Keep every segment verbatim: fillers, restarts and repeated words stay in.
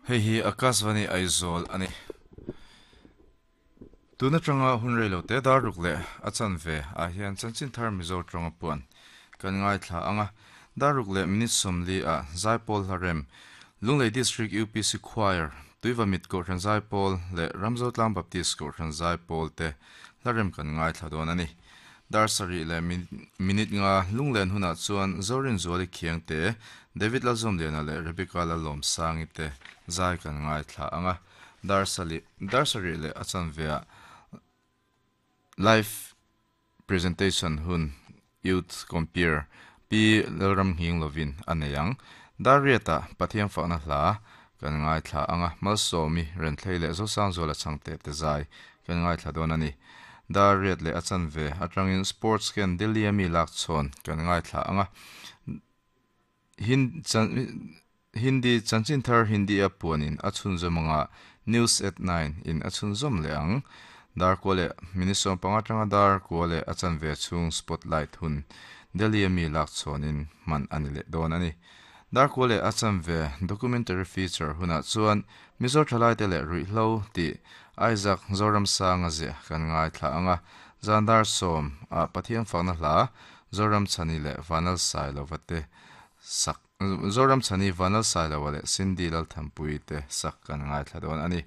Hei hi Akashvani Aizawl ani. Tuna tanga hun reilo te dar ruk leh a chanve ah hian chanchin thar Mizo tawnga puan kan ngaithla anga dar ruk leh minute sawmli ah Zaipawl Hlarem Lunglei District U P C Choir Tuivamit Kohhran Zaipawl leh Ramzotlang Baptist Kohhran Zaipawl te Hlarem kan ngaithla dawn ani. Dar sarih leh minute nga lunglen hunah chuan Zorin Zuali Khiang te David Lalzawmliana leh Rebecca Lalawmsangi te zai kan ngaithla anga dar sali dar sarih leh a chanve ah live presentation hun youth compere Pi Lalram Hing lovin a nei ang. Dar riatah Pathian fakna hla kan ngaithla anga Malsawmi Renthlei leh Zosangzuala changte te zai kan ngaithla dawn ani. Dar riat leh a chanve atangin sports ken Delhi ami lak chhawn kan ngaithla anga Hin chan Hindi chanchin thar Hindi a puanin a chhunzawm anga News at nine in a chhunzawm leh ang. Dar kua leh minute sawm panga atanga dar kua leh a chanve chhung spotlight hun Delhi ami lak chhawnin hman ani leh dawn ani. Dar kua leh a chanve documentary feature hunah chuan Mizo thalai te leh ruihhlo tih Isaac Zoramsanga ziah kan ngaithla anga Zandar sawm ah Pathian fakna hla Zoram Chhani leh Vanal Sailova te sak Zoram Chhani Vanal Sailova leh Cindy Lalthampui te sak kan ngaithla dawn ani.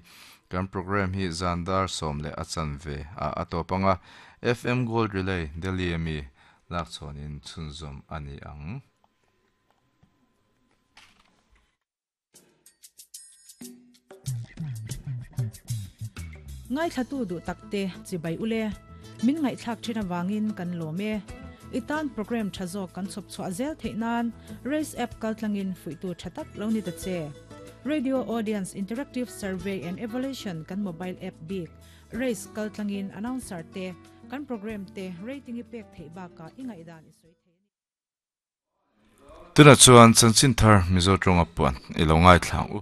Kan program hi Zandar sawm leh a chanve ah a tawp anga F M Gold Relay Delhi ami lak chhawnin chhunzawm ani ang. Ngaithlatu duh takte chibai ule min ngaihthlak thin awangin kan lawm e. Itan program tha zawk kan chhawp chhuah zel theih nan Race app kaltlangin fuihtu tha tak lo ni ta che. Radio Audience Interactive Survey and Evaluation kan mobile app bik Race kaltlangin announcer te kan program te rating i pek theih baka i ngaihdan i sawi thei. Tuna chuan chanchin thar Mizo tawnga puan i lo ngaithla ang u.